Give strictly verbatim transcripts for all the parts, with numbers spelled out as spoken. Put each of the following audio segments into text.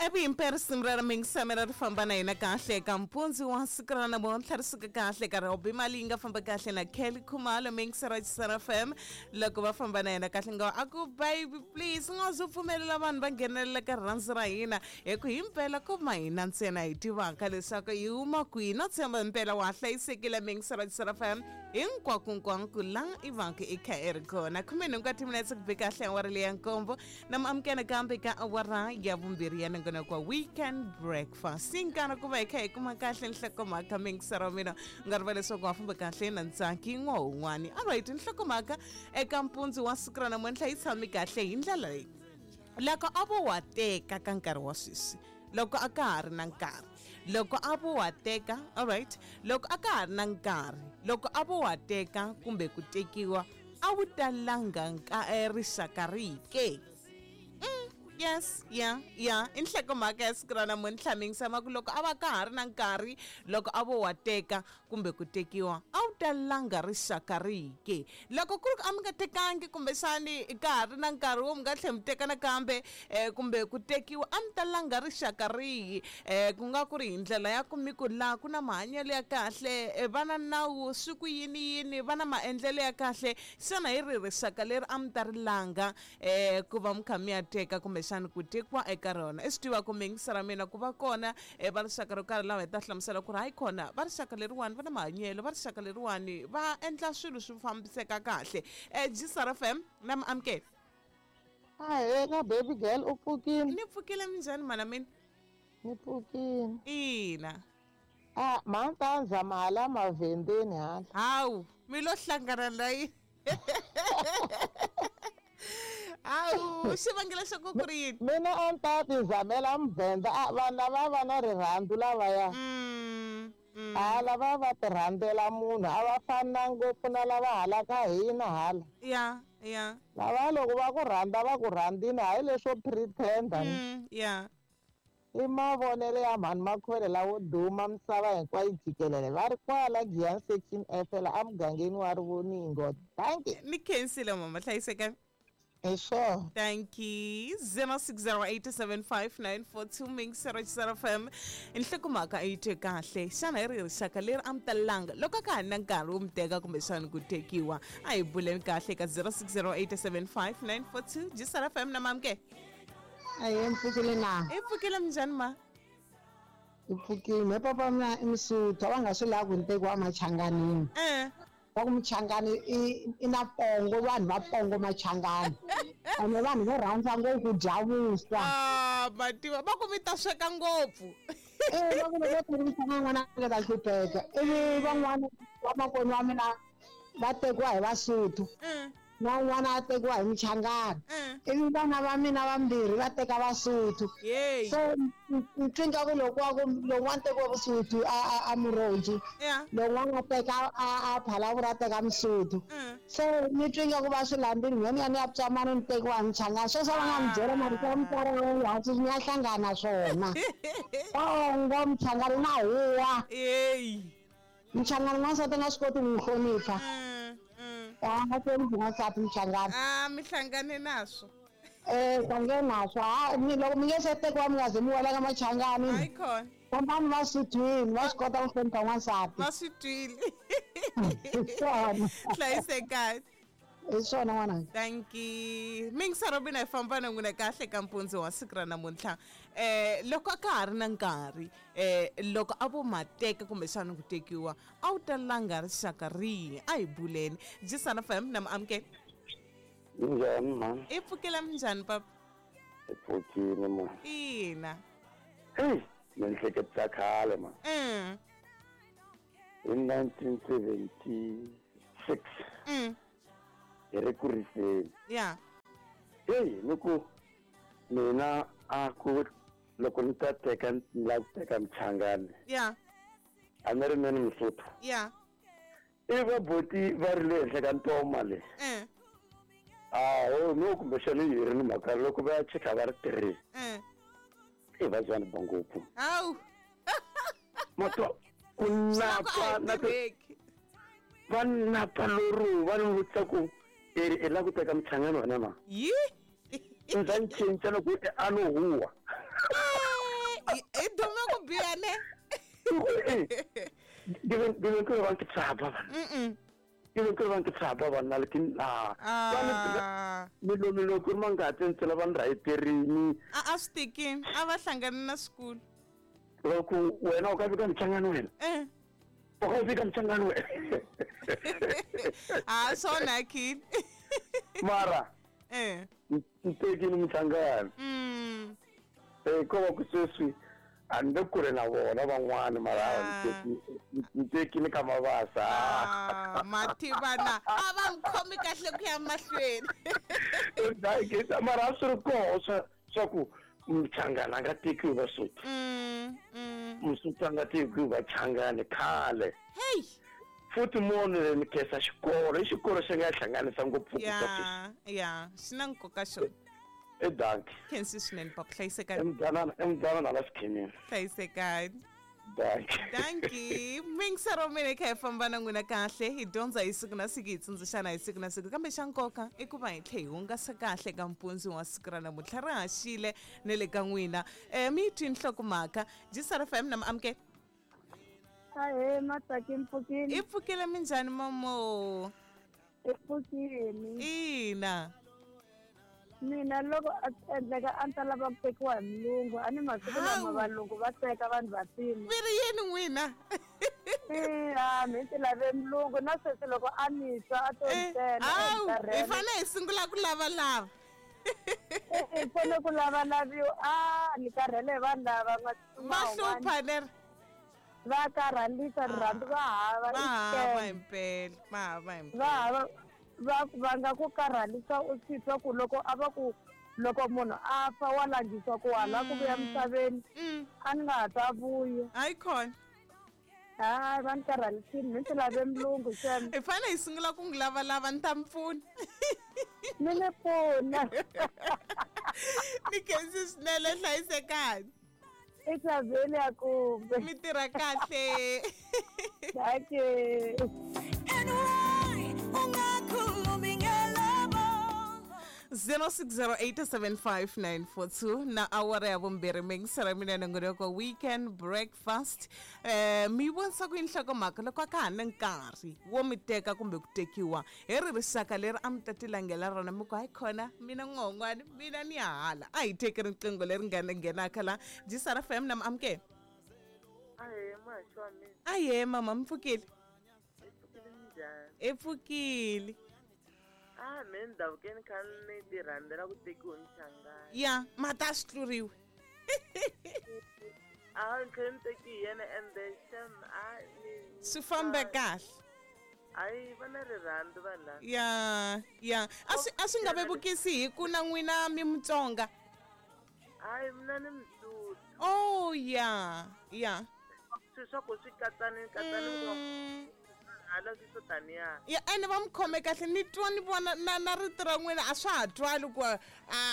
Evi risimu ra mingisamela ri famba na hina kahle eka mpundzu wa siku ra namuntlha ri suka kahle ka Robbie Malinga famba kahle na Kelly Khumalo mingisa ra Chisana F M loko va famba na yena kahle nga a ku baby please u nga zu pfumelela vanhu va nghenelela ka rirhandzu ra hina hi ku himpela ko ma hina ntsena hi tivaka leswaku hi huma kwihi no tshemba himpela wa hlayisekile mingisa ra Chisana F M hinkwakunkwanku la i vaka i kha i ri kona khume nhungu wa timinetse ku be kahle awara leya nkombo na muamukela kambe ka awara ya vumbirhi ya nongonoko wa weekend breakfast sinkana ku va hi kha hi kuma kahle nhlokomhaka mingisero wa mina u nga riva leswaku wa famba kahle na ntsaki n'wa un'wani alright nhlokomhaka eka mpundzu wa siku ra namuntlha yi tshami kahle hi ndlela leyi loko a vo wa teka ka nkarhi wa sweswi loko a ka ha ri na nkarhi loko a vo wa teka alright loko a ka ha ri na nkarhi loko a vo wa teka kumbe ku tekiwa a wu talanga rixaka rihi ke? Yes, yeah, yeah. I nhlokomhaka ya siku ra namuntlha mingisama ku loko a va ka ha ri na nkarhi loko a vo wa teka kumbe ku tekiwa a wu talanga rixaka rihi ke? Loko ku ri ku a mi nga tekangi kumbexani ka ha ri na nkarhi wo mi nga tlhela mi teka nakambe eh, kumbe ku tekiwa a mi talanga rixaka rihi eh, ku nga ku ri hi ndlela ya ku mi ku laha ku na mahanyelo ya kahle eh, va na nawu swi ku yini yini va na maendlelo ya kahle xana hi ri rixaka leri a mi ta ri langa eh, ku va mi kha mi ya teka kumbe xana ku tekiwa eka rona i swi tiva ku mingisa ra mina ku va kona eh, va rixaka ro karhi lava hi ta hlamusela ku ri hayi kona va rixaka leriwani va na mahanyelo va rixaka leriwani va endla swilo swi fambiseka kahle eh, G S R F M na mi amukela. Ahee baby girl u pfukile? Ni pfukile minjhani mana mina? Ni pfukile. Ina. Ah, mantanza mahala mavhendeni hala. Hawu mi lo hlangana na yini? Hawu xivangelo xa ku ku ri yini? Mina a ni ta ti zamela muvhenda a vanhu lava va na rirhandzu lavaya. Mm, mm. A lava va ti rhandzela munhu a va fani na ngopfu na lava halaka hina hala. Ya, ya. Lava loko va ku rhandza va ku rhandzini hayi leswo pretend-a. Mm, ya. I mavonelo ya mhani Makhwele lawo duma misava hinkwayo jikelele va ri kwala Giyani section F la emugangeni wa Rivoningo. Thank you. Ni khensile mama hlayiseka. Hi swona. Thank you. zero six zero eight seven five nine four two Mix Chisana F M. Nhlokomhaka yi twe kahle xana hi ri rixaka leri a mi talanga loko a ka ha ri na nkarhi wo mi teka kumbexana ku tekiwa a hi buleni kahle ka zero six zero eight seven five nine four two Chisana F M na mamke. Ahee mpfukile na. I pfukile minjhani ma? I pfukile me papa mina i Musuthu a va nga swi lavi ku ni tekiwa emachanganini. Eh. Va ku Muchangani i i na pongo vanhu va pongo Machangani. Ene vanhu vo rhandza ngopfu ku dya vuswa. Ah, mativa va ku mi ta sweka ngopfu. Eh, va ku loko vo teka Muchangani n'wana a nga ta hlupheka. Ivi van'wana vamakwenu wa mina va tekiwa hi Vasuthu. Mm. Na un'wana a tekiwa hi Muchangani. Mm. Ivi vana va mina vambirhi va teka Vasuthu. Yeyi. So ni twi nga ku loko wa ku lowun'wana tekiwa Vusuthu a a a Muroji. Yeah. Lowun'wana a teka a a Phalavula a teka Musuthu. Mm. So ni twi nga ku va swi landzile mina ni ya ni ya Psamani ni tekiwa hi Muchangani. Sweswo va nga ni byela marito ya mutswari wa yena hansi ni ya hlangana swona. Pongo Muchangani na huwa. Yeyi. Muchangani n'wansati a nga swi koti ku n'wi hlonipha. Mm, mm. A nga hloniphi n'wansati Muchangani. Ah, mi hlangane naswo. Eh, hlangane naswo. Ha, ni loko mi nge se tekiwa mi nga ze mi wela ka Machangani. Hayi khona. Fambani va swi twile, va swi kota ku hlonipha n'wansati. Va swi twile. Hi swona. Hlayisekani. Hi swona n'wananga. Thank you. Mingisa Robina hi famba na n'wina kahle ka mpundzu wa siku ra namuntlha. Eh, loko a ka ha ri na nkarhi eh, loko a vo ma teka kumbexana ku tekiwa a wu talanga rixaka rihi? A hi buleni. Chisana F M na mi amukela. Minjhani mhani? I pfukela minjhani papa? I pfukile mhani. Ina. Hey, ni ehleketisa khale mhani. Mm. Hi nineteen seventy-six. Mm. Hi ri ku riseni. Yeah. Hey, ni ku mina a ku loko ni ta teka ni lava ku teka Muchangani. Yeah. A ni ri mina Musuthu. Yeah. I va boti va ri le henhla ka ntoma le. Mm. Ah, oh no kumbexana yi ri ni mhaka loko va ya cheka va ri three. Mm. I va byani ba ngopfu. Hawu. Matwa ku napa na va napa loro va ni vutisa ku i lava ku teka Muchangani wena na? Yi? Ndza ni cinca loko a no huwa. I dume ku biha ne? Ke be ba ke tshaba bana. Mm. Ke be ke ba ke tshaba bana le ke ah. Melo melo ku manga tsentsela ba nraiterini. A a sticking, a va hlangana na school. Loko wena o ka fika mchangano wena. Eh. O ka fika mchangano wena. Ah, sona kid. Mara. Eh. Ntekini mchangano. Mm. Eh ko ba ku sweswi a ni le kule na vona van'wana mara ntekini ka mavasa. Ah, mativana a va n'wi khomi kahle ku ya mahlweni. Mara a swi ri koho swa swa ku mchangana a nga tekiwi Vasotho. Mm, mm. Mosotho a nga tekiwi Vachangani khale. Hey. Futhi munhu ni khensa xikolo, i xikolo xi nga hlanganisa ngopfu Ya, ya, xi na nkoka xona. E dankie. Khensi swinene papa, hlayisekani. Emdzanana, emdzanana la xikhemini. Hlayisekani. Dankie. Dankie. Mingisero mina kha hi famba na n'wina kahle, hi dyondza hi siku na siku, hi tsundzuxana hi siku na siku, kambe xa nkoka i ku va hi tlhe hi hungasa kahle ka mpundzu wa siku ra namuntlha ri haxile ne le ka n'wina. Eh mi yi twi nhlokomhaka G S R F M na amukela. Ahee, Matsaki, mpfukile. I pfukile minjhani mamo? I pfukile. Ina. Mina loko a swi endleka a ni ta lava ku tekiwa hi mulungu, a ni masiku lama valungu va teka vanhu vantima. Mi ri yini n'wina? Eya, mi ti lave mulungu na sweswi loko a ni twa a to ntsena. Hawu, hi fanele hi sungula ku lavalava. Hi fanele ku lavalaviwa. A ni karhele hi vanhu lava va hlupha leri. Va karhalisa rirhandzu va hava. Va hava himpela, va hava himpela. Va hava. Va va nga ku karhalisa u swi twa ku loko a va ku loko munhu a fa wa langisa ku hala ku vuya misaveni a ni nga ha ta vuya. Hayi khona. Hayi va ni karhalisini, mi ti lave mulungu xem. Hi fanele hi sungula ku n'wi lavalava, ni ta mi pfuna. Mi ni pfuna. Ni khensi swinene, hlayisekani. I xaveni ya kumbe. Mi tirha kahle. Dankie. zero six zero eight seven five nine four two na awara ya vumbirhi mingisera mina nongonoko weekend breakfast. Eh mi vonisa ku nhlokomhaka loko ka ha ni nkarhi wo mi teka kumbe ku tekiwa hi ri rixaka leri a mi ta tilangela rona, mi ku hayi khona mina n'won'wani mina ni ya hala. A hi teki riqingho leri nga nghenaka la G S R F M na amukela. Ahee, muhaxi wa mina. Ahee mama, mi pfukile? I pfukile minjhani? I pfukile. Ah, me ndhavukeni kha ni ti rhandzela ku tekiwa mchangani. Ya, mata a swi tluriwi. A ni tlhela ni teki hi yena ende xem a ni swi fambe kahle. Hayi va na rirhandzu vanhu lava. Ya, ya, a swi a swi nga vevukisi hi ku na n'wina mi Mutsonga. Hayi mina ni Msuthu. Oh ya, ya. Swilo swa ku swi katsani katsani Mm. hala swi swo taniya. Ya, ene va mi khome kahle, ni twa ni vona na na rito ra n'wina a swa ha twali ku a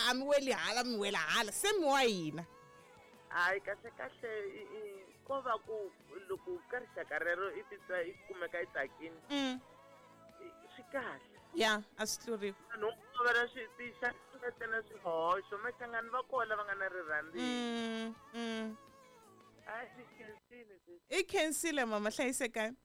a mi weli hala mi wela hala, se mi wa hina. Hayi kahle kahle ko va ku loko ka rixaka rero i titwa i kumeka i tsakini. Mm. Swi kahle. Ya, a swi tluriwi. Vanhu va na swi tinxaka ntsena swihoxo, machangani va kona va nga na rirhandzu. Mm, mm. Hayi ni khensile sesi. I khensile mama, hlayisekani.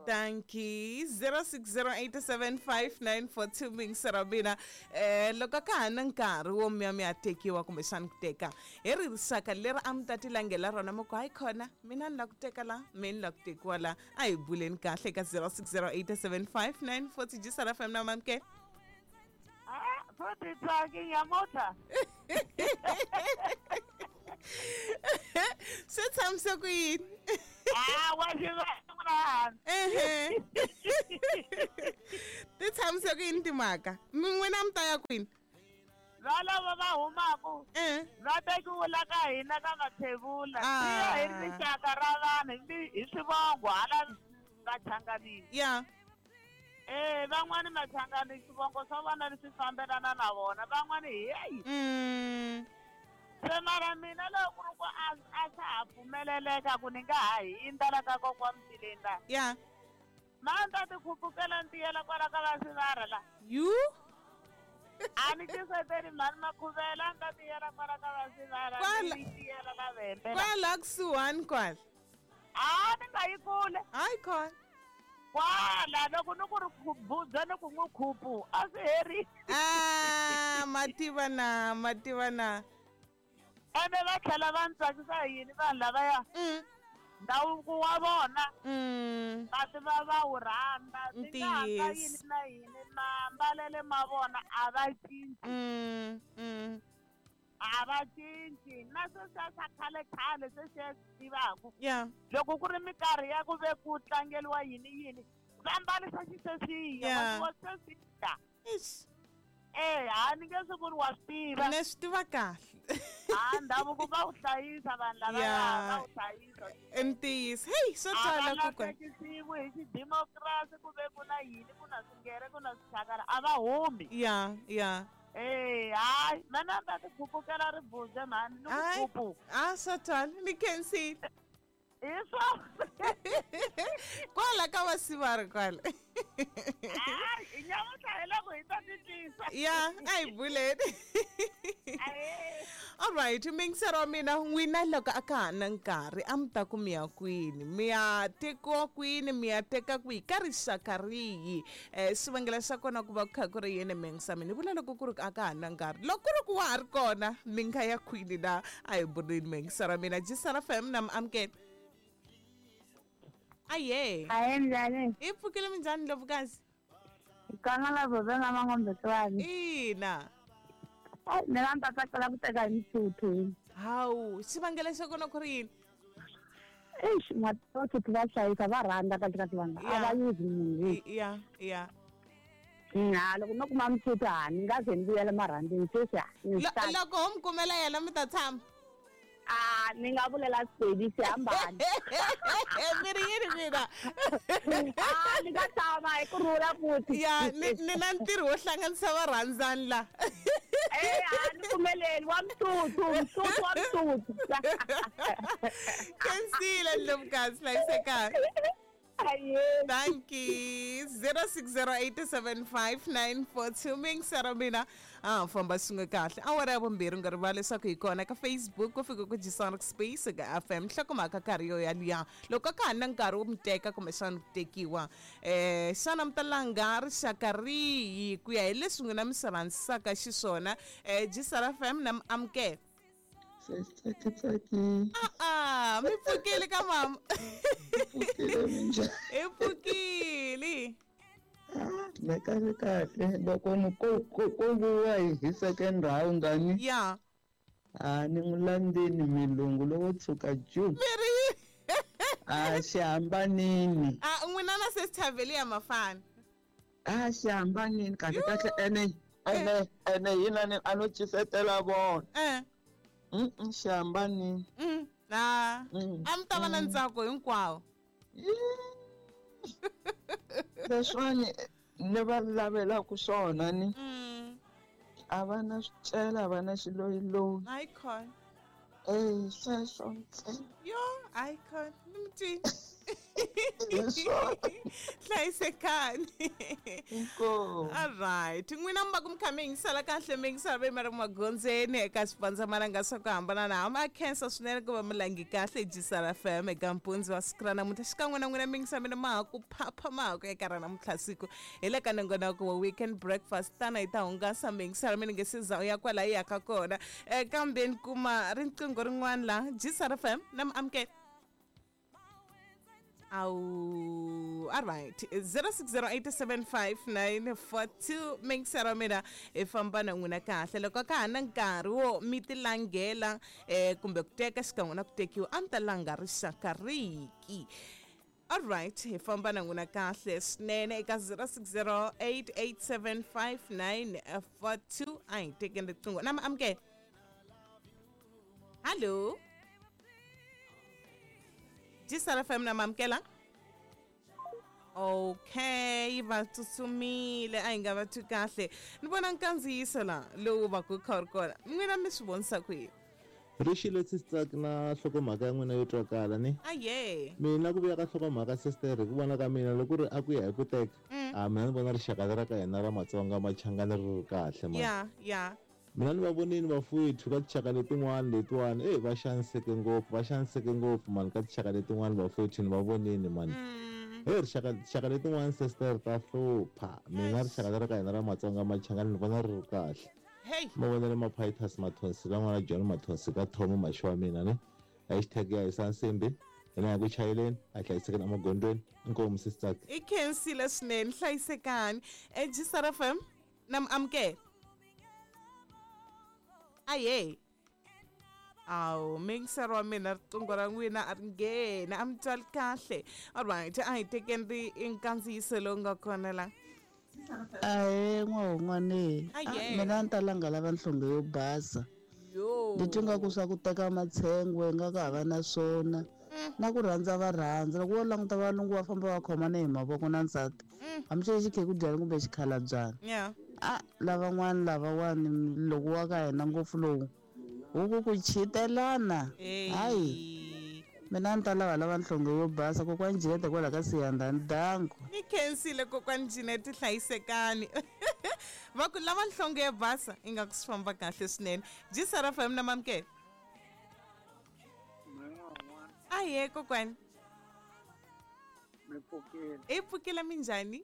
Dankie. zero six zero eight seven five nine four two mingisera mina. Eh loko ka ha na nkarhi wo mi ya mi ya tekiwa kumbexani ku teka hi ri rixaka leri a mi ta tilangela rona, mi ku hayi khona mina ni la ku teka la, mina ni la ku tekiwa la. A hi buleni kahle ka zero six zero eight seven five nine four two G S R F M na mamke. Ah, futhi tsaki nyamutlha. Swi tshamise ku yini? Ah, wa xi va Ehe. Ti tshamise ku yini timhaka? Mi n'wina mi ta ya kwini? Valava va humaku Eh. va tekiwe la ka hina ka Mathebula. Ah. Swi ya hi rixaka ra vanhu hi swivongo hala Vachanganini. Ya. Eh, van'wani Machangani swivongo swa vona leswi fambelana na vona, van'wani heyi. Mm. Se mara mina loko ku ri ku a a swa ha pfumeleleka ku ni nga ha hundza la ka kokwa Mtileni la. Ya. Ma ni ta ti khupukela ni tiyela kwala ka va Sivara la. You? A ni tiseteli mhani Makhuvela, a ni ta tiyela kwala ka va Sivara Kwala. ni tiyela la hembela. Kwala kusuhani kwala. A ni nga yi kule. Hayi khona. Kwala loko ni ku ri khubudza ni ku n'wi khupu a swi heri. Ah, mativa na, mativa na. Ene va tlhela va ni tsakisa hi yini vanhu lavaya? Mm. Ndhavuko wa vona. Mm. Va tiva va wu rhandza. Swi nga ha Ntiyiso. yini na yini maambalele ma vona a va cinci. Mm. Mm. A va cinci na sweswiya swa khale khale sweswiya swi tivaka. Yeah. Loko ku ri minkarhi ya ku ve ku tlangeriwa yini yini va mbarisa xisweswiya Yeah. wa sweswiya. Eish. Eh, a ni nge swi ku ri wa swi tiva. Ni swi tiva kahle. A ndhavuko va wu hlayisa vanhu lavaya Yeah. va wu hlayisa. Ntiyiso. Hey, swo A va twala kokwana. lahlekisiwi hi xidemokirasi ku ve ku na yini ku na swingere ku na swichakara a va humi. Yeah, yeah. Eh, hayi mina ni ta ti khupukela ribudze mhani ni ku Hayi. khupu. A swo twala ni khensile. Hi swona. Kwala ka vasivari kwala. Hayi nyamuntlha hi loko hi ta titwisa. Yeah, a hi buleni. Ahee. All right, mingisero wa mina n'wina loko a ka ha na nkarhi a mi ta ku mi ya kwini mi ya tekiwa kwini mi ya teka kwihi ka rixaka rihi um xivangelo xa kona ku va ku kha ku ri yini mingisa mina ni vula loko ku ri a ka ha na nkarhi loko ku ri ku wa ha ri kona mi nga ya kwini na a hi buleni mingisero wa mina Jisara F M na mi amukela aye Ahee njhani? hi pfukile minjhani ndlovukazi Kanga la vobe na mangombe twani. ina Mina ni ta tsakela ku teka hi Msotho. hawu xivangelo xa kona ku ri yini Eish, Masotho va hlayisa va rhandza kahle kahle vanhu. A va yuzi munhu. I- ya ya Ha loko no kuma Msotho ha ni nga ze ni vuyela marhandzeni sweswi ha. Ni Lo- swi loko ho mi kumela yena mi ta tshama Ah, ni nga vulela Sepedi xi hambana. mi ri yini mina Ah, ni nga tshama hi ku rhula futhi. ya ni ni na ntirho wo hlanganisa varhandzani la Eh, a ni pfumeleli wa Msotho, Msotho wa Msotho. khensile ndlovukazi hlayisekani Ahee. Thank you. zero six zero eight seven five nine four two mingisero mina a famba swin'we kahle awara ya vumbirhi u nga rivali leswaku hi kona ka Facebook ku fika ku Jisonic Space ka F M nhlokomhaka karhi yo yaliya loko ka ha na nkarhi wo mi teka kumbexana ku tekiwa um xana mi ta langa rixaka rihi ku ya hi leswi n'wina mi swi rhandzisaka xiswona um Jisara F M na mi amukela Tsaki tsaki a-a mi pfukile ka mama pfukile minjhani hi pfukile me kahle kahle loko ni ko ko ko vuya hi hi second round ani ya a ni n'wi landzeni milungu lowo tshuka ju mi ri yini a xi hambanini a n'wina na sesithavheli ya mafana a xi hambanini kahle kahle ene ene ene yina ni a no cisetela vona eh Mm, xi hambanini mm a Mm, a mi ta va na ntsako hinkwawo leswiwani ni va lavelaku swona ni mm a va na swicela a va na xiloyiloyi hayi khona e sweswo ntsena yo hayi khona ni mi twini Hi swona. hlayisekani Inkomu. Alright n'wina mi va ku mi kha mi yingisela kahle mi yingisela ve mi ri magondzweni eka swipandzamananga swa ku hambanahambana a khensa swinene ku va mi langi kahle Jisara F M eka mpundzu wa siku ra namuntlha xikan'we na n'wina mi yingisa mina ma ha ku phapha ma ha ku eka ra namuntlha siku hi le ka nongonoko wa weekend breakfast tana hi ta hungasa mi yingisela mi ni nge se za u ya kwala hi yaka kona um kambe ni kuma riqingho rin'wana la Jisara F M na mi amukela Awu, all right. zero six zero eight seven five nine four two mingisero mina hi famba na n'wina kahle loko ka ha na nkarhi wo mi ti langela eh kumbe ku teka xikan'we na ku tekiwa a mi ta langa rixaka riki all right hi famba na n'wina kahle swinene eka zero six zero eight eight seven five nine four two a hi tekeni riqingho na mi amukela hallo Jisara F M na mamukela okay va tsutsumile a hi nga va twi kahle ni vona nkandziyiso la lowu va ku kha wu ri kona n'wina mi swi vonisa ku yini Rixile sisitsaki na nhlokomhaka ya n'wina yo twakala ni aye mina ku vuya ka nhlokomhaka sister hi ku vona ka mina loko ku ri a ku ya hi ku teka Mm. a mina ni vona rixaka leri ra ka hina ra matsonga machangani ri ri kahle man ya ya Mina ni va vonini vafowethu ka tinxaka letin'wana letiwani e va xaniseke ngopfu va xaniseke ngopfu mani ka tinxaka letin'wana vafowethu ni va vonini mani. He rixaka tinxaka letin'wana sister ta hlupha. Mina rixaka leri ka hina ra Matsonga Machangani ni vona ri ri kahle. Hey. Mavonele Maphitas Mathonsi la n'wana John Mathonsi ka Thomo Maxi wa mina ne. Hashtag ya hisa nsimbi. Ina ya ku chayeleni a hlayisekeni emagondzweni. Inkomu sister. I khensile swinene hlayisekani. E G S R F M na mi amukela. Aye. Awu mingisero wa mina riqingho ra n'wina a ri ngheni a mi twali kahle. Alright, a hi tekeni ri nkandziyiso lowu nga kona la. Ahe n'wahon'wane mina a ni ta langa lava nhlonge yo basa. Ni twi nga ku swa ku teka matshengwe nga ka hava na swona na ku rhandza va rhandza loko wo languta valungu va famba va khomana hi mavoko na nsati hambi xi xikhekhudyana kumbe xikhalabyana. A lavan'wana lavawani loko wa ka hina ngopfu lowu huku ku chitelana hayi mina ni ta lava lava nhlonge yo basa kokwani Jeanette kwala ka Siyandhani danko. Ni khensile kokwani Jeanette hlayisekani. Va ku lava nhlonge yo basa ingaku swi famba kahle swinene. G S R F M na mamukela. Aye kokwani. Mi pfukile. I pfukile minjhani?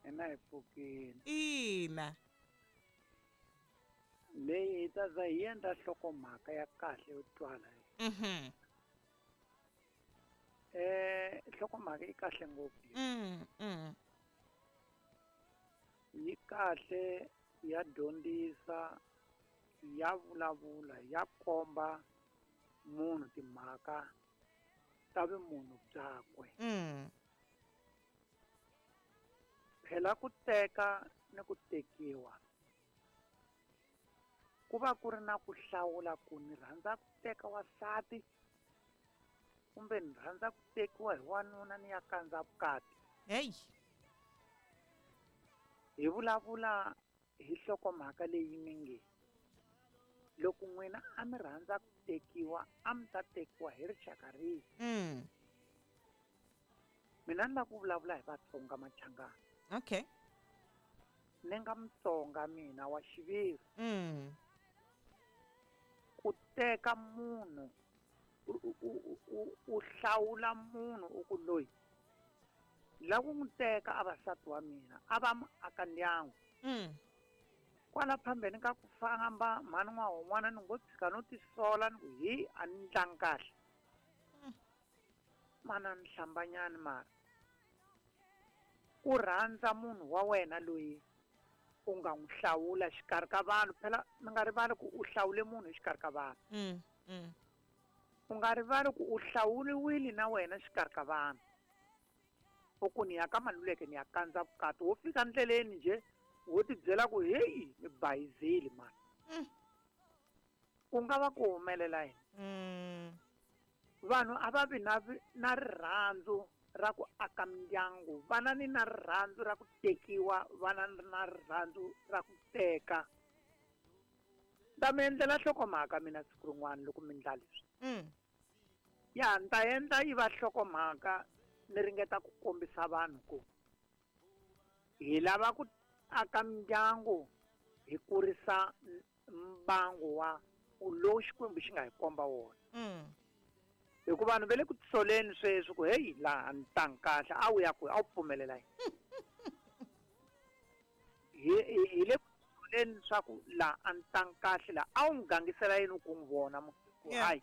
Ina hi pfukile. Ina. Leyi hi ta za hi endla nhlokomhaka ya kahle yo twala. Mhm. Eh nhlokomhaka yi kahle ngopfu. Mm mm. Yi kahle ya dyondzisa ya vulavula ya komba munhu timhaka ta vumunhu byakwe. Mm. Phela ku teka ni ku tekiwa ku va ku ri na ku hlawula ku ni rhandza ku teka wansati kumbe ni rhandza ku tekiwa hi wanuna ni ya kandza vukati. Hey. Hi vulavula hi nhlokomhaka leyi mi nge loko n'wina a mi rhandza ku tekiwa a mi ta tekiwa hi rixaka rihi. Mm. Mina ni lava ku vulavula hi Vatsonga Machangani. Okay. Ni nga Mutsonga mina wa xiviri. Mm. Ku teka munhu u hlawula munhu u ku loyi la ku n'wi teka a vasati wa mina a va aka ndyangu. Mm. Kwala phambeni ka ku famba mhani n'wahon'wana ni ngo tshika no tisola ni ku hi a ni ndlangi kahle. Mana ni hlambanyani mara ku rhandza munhu wa wena loyi u nga n'wi hlawula xikarhi ka vanhu phela mi nga rivali ku u hlawule munhu exikarhi ka vanhu. Mm, mm. U nga rivali ku u hlawuriwile na wena xikarhi ka vanhu. U ku ni ya ka Maluleke ni ya kandza vukati wo fika ndleleni nje wo tibyela ku heyi ni bayizile mani. Mm. Ku nga va ku humelela yini? Mm. Vanhu a va vi na na rirhandzu ra ku aka mindyangu vana ni na rirhandzu ra ku tekiwa vana na rirhandzu ra ku teka. Ta mi endlela nhlokomhaka mina siku rin'wana loko mi ndla leswi. Mm. Ya ni ta endla yi va nhlokomhaka ni ringeta ku kombisa vanhu ku hi lava ku aka mindyangu hi kurisa mbangu wa lowu Xikwembu xi nga hi komba wona. Mm. Hikuva vanhu va le ku tisoleni sweswi ku heyi laha ni tlangi kahle a wu ya kwihi a wu pfumelela yini. Hi hi le ku tisoleni leswaku laha a ni tlangi kahle laha a wu n'wi gangisela yini ku n'wi vona ku hayi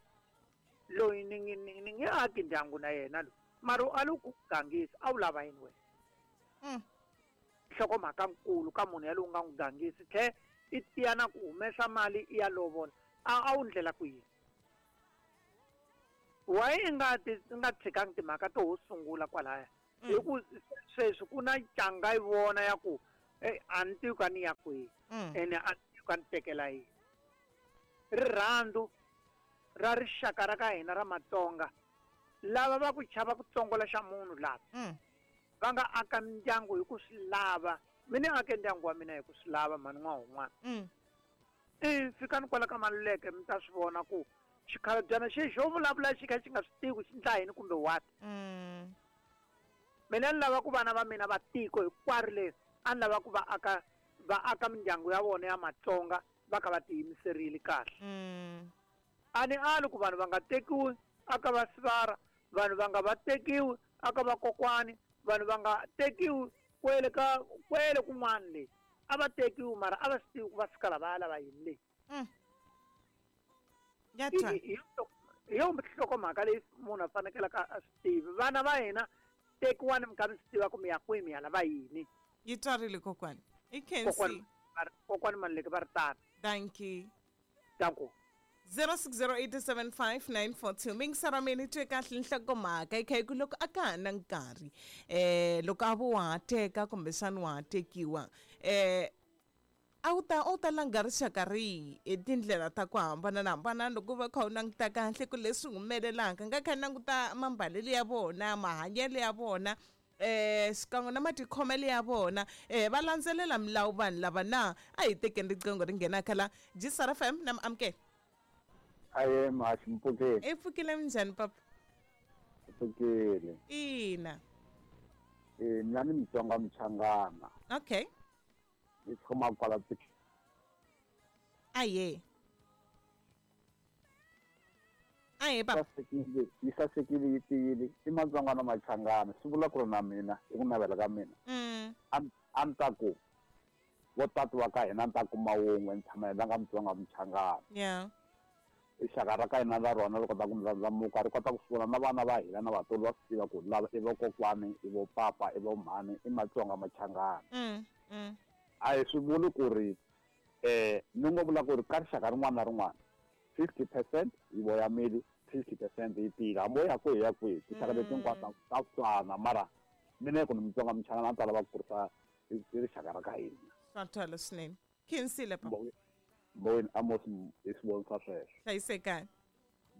loyi ni nge ni nge aki ndyangu na yena loyi mara a lo ku gangisa a wu lava yini wena. Nhlokomhaka nkulu ka munhu yalowu nga n'wi gangisi tlhe i tiya na ku humesa mali i ya lovola a a wu ndlela ku yini. Why i nga ti i nga tshikangi timhaka to ho sungula kwalaya hi ku sweswi ku na ncanga yi vona ya ku a ni tivi ka ni ya kwihi ene a ni tivi ka ni tekela yini. Rirhandzu ra rixaka ra ka hina ra Matsonga lava va ku chava ku tsongola xa munhu lava va nga aka mindyangu hi ku swi lava. Mina ake ndyangu wa mina hi ku swi lava mhani n'wahon'wana. I fikani kwala ka Maluleke mi ta swi vona ku xikhalabyana xexi xo vulavula xi kha xi nga swi tivi xi ndla yini kumbe what. Mina ni lava ku vana va mina va tiko hinkwaro leri a ni lava ku va aka Va aka mindyangu ya vona ya Matsonga va kha va tiyimiserile kahle. Mm. A ni ali ku vanhu va nga tekiwi aka va sivara, vanhu va nga va tekiwi aka va kokwani, vanhu va nga tekiwi kwele ka kwele kun'wana le. A va tekiwi mara a va swi tivi ku va fika la va ya lava yini le. Mm. Ya twa. Hi yo nhlokomhaka leyi munhu a fanekelaka a swi tivi. Vana va hina tekiwani mi kha mi swi tiva ku mi ya kwihi mi ya lava yini. Yi twarile kokwani. I khensi. Kokwani Maluleke va ri tano. Thank you. Danko. zero six zero eight seven five nine four two mingisara mina twe kahle nhlokomhaka yi kha yi ku loko a ka ha na nkarhi eh loko a vo wa ha teka kumbexani wa ha tekiwa eh a wu ta a wu ta langa rixaka rihi hi tindlela ta ku hambanahambana loko va kha u languta kahle ku leswi humelelaka nga kha languta mambalelo ya vona mahanyelo ya vona eh xikan'we na matikhomelo ya vona eh va landzelela milawu vanhu lava na a hi tekeni riqingho ri nghenaka la G S R F M na amukela. Aye mashi mpfukile. I pfukile minjhani papa? Pfukile. Ina. Eh mina ni Mutsonga Muchangana. Okay. Ni tshama kwala. Aye. Aye papa. Sasekile, yi sasekile yi tiyile. I Matsonga na Machangana. Swi vula ku ri na mina i ku navela ka mina. Mm. A ni ta ku vo tati wa ka hina ni ta kuma wun'we ni tshama hi langa Mutsonga Muchangana. Yeah. Rixaka ra ka hina ra rona ri kota ku ndlandlamuka ri kota ku swi vona na vana va hina na vatswari va swi tiva ku lava i vokokwani i vo papa i vo mhani i Matsonga Machangana. Mm, mm. A hi swi vuli ku ri eh ni ngo vula ku ri ka rixaka rin'wana na rin'wana fifty percent yi voyamile fifty percent yi tiyile hambi wo ya kwihi ya kwihi tinxaka leti hinkwato ta fana mara mina ku ni Mutsonga Muchangana a ni ta lava ku kurisa hi rixaka ra ka hina. Swa twala swinene. Khensile papa. Mboweni Amos hi swi vonisa sweswo. Hlayisekani.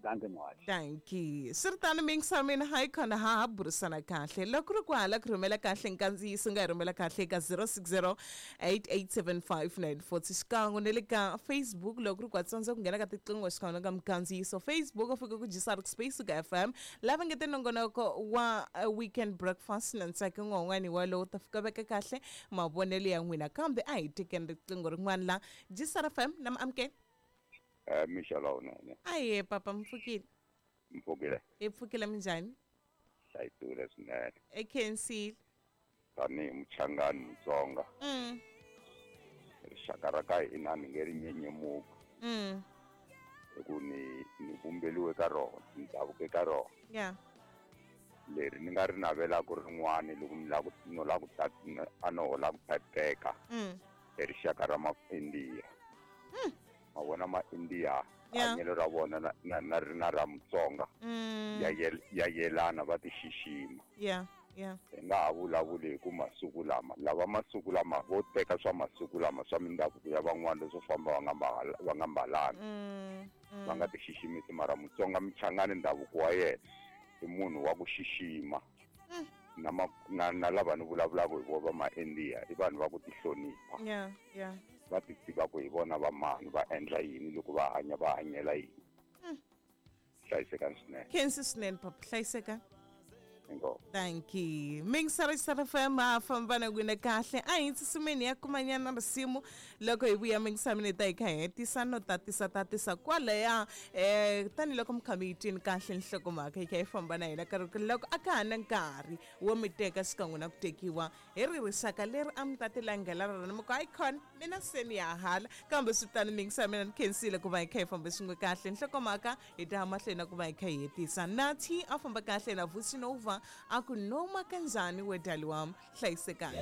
Dankie Mwachi. Dankie. Swi ri tano mingisa mina hayi khona ha ha burisana kahle. Loko ri ku hala ku rhumela kahle nkandziyiso nga hi rhumela kahle eka zero six zero eight eight seven five nine four xikan'we na le ka Facebook loko ri ku tsandza ku nghena ka tiqingho xikan'we na ka minkandziyiso Facebook u fika ku G S R Space ka F M lava nge te nongonoko wa weekend breakfast na Ntsaki n'wan'wani walowo ta fika veka kahle mavonelo ya n'wina kambe a hi tekeni riqingho rin'wana la G S R F M na amukela. Eh Michelle unene. Aye papa mpfukile. Mpfukile. I pfukile minjhani? Hlayisile swinene. E khensile. Tanihi Muchangani Mutsonga. Mm. Rixaka ra ka hina ni nge ri nyenyemuki. Mm. Hi ku ni ni vumbeliwe ka rona, ni ndhavuke ka rona. Yeah. Leri ni nga ri navelaka rin'wana loko ni lava ku no lava ku ta a no lava ku ta teka. Mm. I rixaka ra ma-India. Mm. Ma vona ma-India hanyelo ra vona na na na na ra Mutsonga ya ya yelana va ti xixima. Yeah, yeah. Hi nga ha vulavuli hi ku masiku lama lava masiku lama vo teka swa masiku lama swa mindhavuko ya van'wana leswo famba va nga va nga mbalanga. Va nga ti xiximisi mara Mutsonga Muchangani ndhavuko wa yena i munhu wa ku xixima. Na na na lava ni vulavulaka hi vona va ma-India i vanhu va ku ti hlonipha. Yeah, yeah. Va ti tiva ku hi vona va mani va endla yini loko va hanya va hanyela yini. Hlayisekani swinene. Khensi swinene papa, hlayisekani. Inkomu. Thank you. Mingisara S R F M a famba na n'wina kahle a hi tsutsumeni ya kumanyana risimu loko hi vuya mingisa mina ta hi kha hi hetisa no tatisa tatisa kwalaya eh tanihiloko mi kha mi yi twini kahle nhlokomhaka yi kha yi famba na hina karhi loko a ka ha na nkarhi wo mi teka xikan'we na ku tekiwa hi ri rixaka leri a mi ta ti langela rona mi ku hayi khona mina se ni ya hala kambe swi tano mingisa mina ni khensile ku va hi kha hi famba swin'we kahle nhlokomhaka hi ta ya mahlweni na ku va hi kha hi hetisa Nathi a famba kahle na Vusi Nova a ku noma kanjhani we dali wam hlayisekani.